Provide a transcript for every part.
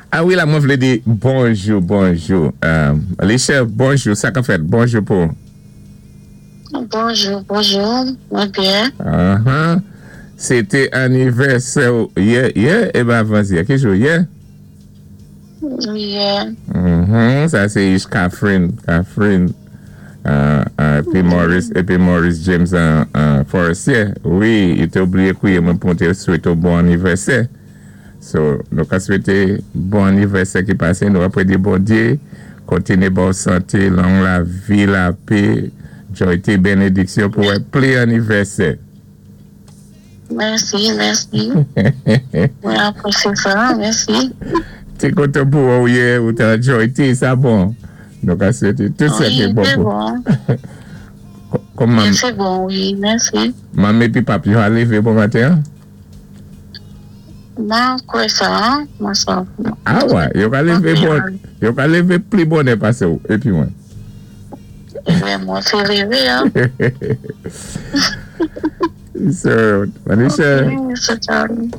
A wi la mwen vlé di bonjou bonjou Lichè bonjou sa kap fèt bonjou pou. Bonjou bonjou mwen byen. Ahan se te anivèsè w yè yè e pa avansyè ki jou yè? Yè. Uhmm sa se Ish Catherine Catherine epi Maurice epi Maurice James Forestier wi yo te bliye kwiye mwen pou mwen te swete w bon anivèsè. So nou ka swete bon anivèsè ki pase nou ap predi Bondye kontinye baw sante long lavi lapé joyte benediksyon pou wè pli anivèsè. Mèsi mèsi mwen apresye sa mèsi. Te kontan pou wè w yè ou te an joyte sa bon nou ka swete tout sa ki bon pou Wi se bon wi mèsi. Manmi epi papi yo a leve bon maten an? Mwen kwè sa, mwen sa. Ah wè, yo ka leve bon, yo ka leve pli bonè pase w epi mwen. Ebyen mwen te leve an. So, Manisha,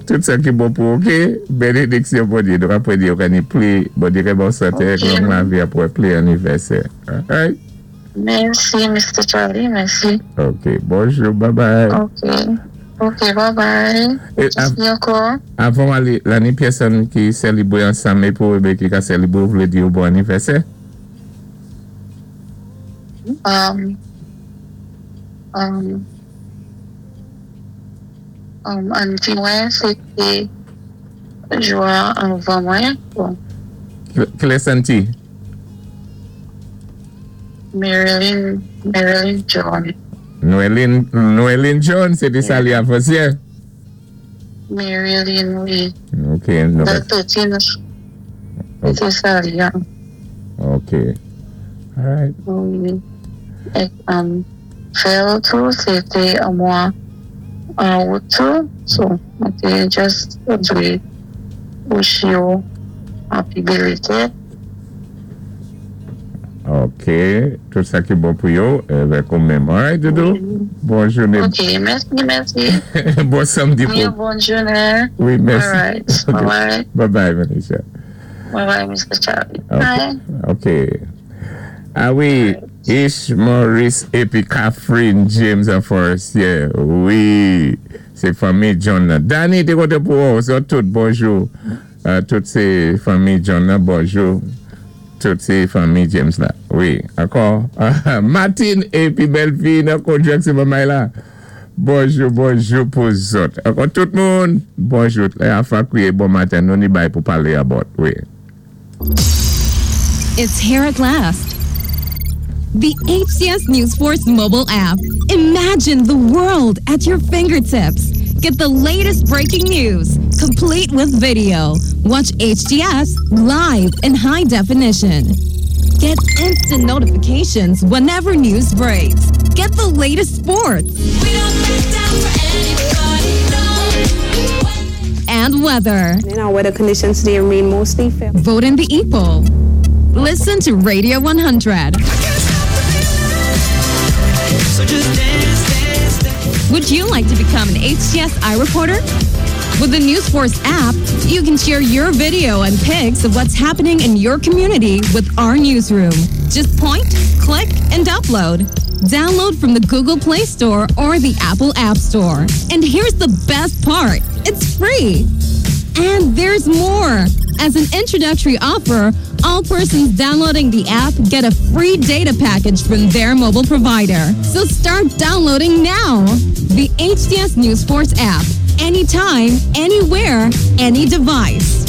tout sa ki bon pou ou ok, benediksyon Bondye, nou ka predi yo ka ni pli, Bondye ka ba w sante ak long lavi ap wè pli anivèsè. Alright? Mèsi Mister Charly mèsi. Ok bonjou bye bye. Ok ok bye bye mèsi ankò. Avan w ale la ni pèsòn ki sèlibre ansanm epi w ebe ki ka sèlibre ou vle di yo bon anivèsè? Um um um ann di mwen se te jou a anvan mwen bon. Kilès Santi? Marilyn Marilyn John. Noeline Noeline John se te sa li avansyè? Marilyn wi. Ok nou Dat 13 se te sa li an. Ok alright. Wi ek frè l tou se te an mwa an out tou so mwen te just vle wish yo happy belated. Ok, tout sa ki bon pou yo, evèk ou menm. Alright, Doudou? Bon jounen. Ok, mèsi, mèsi. Bon samdi pou. Yon bon jounen. Wi, mèsi. Alright, bye bye. Bye bye, Manisha. Bye bye, Mr. Charlie. Bye. Ok. Ah wi, Ish Maurice epi Catherine James an Forestier. Wi, se fanmi John nan. Danny, te kontan pou wè w. Sot tout, bonjou. Tout se fanmi John nan bonjou tout se fanmi James la wi ankò Martine epi bèlfi nan Kojak se manmay la bonjou bonjou pou zòt ankò tout moun bonjou lè a fa kriye bon maten nou ni bay pou pale about wi. It's here at last. The HCS News Force mobile app. Imagine the world at your fingertips. Get the latest breaking news, complete with video. Watch HTS live in high definition. Get instant notifications whenever news breaks. Get the latest sports. And weather. In our weather conditions today remain mostly fair. Vote in the e-poll. Listen to Radio 100. Would you like to become an HTS iReporter? With the News Force app, you can share your video and pics of what's happening in your community with our newsroom. Just point, click, and upload. Download from the Google Play Store or the Apple App Store. And here's the best part. It's free. And there's more. As an introductory offer, all persons downloading the app get a free data package from their mobile provider. So start downloading now. The HTS News Force app. Anytime, anywhere, any device.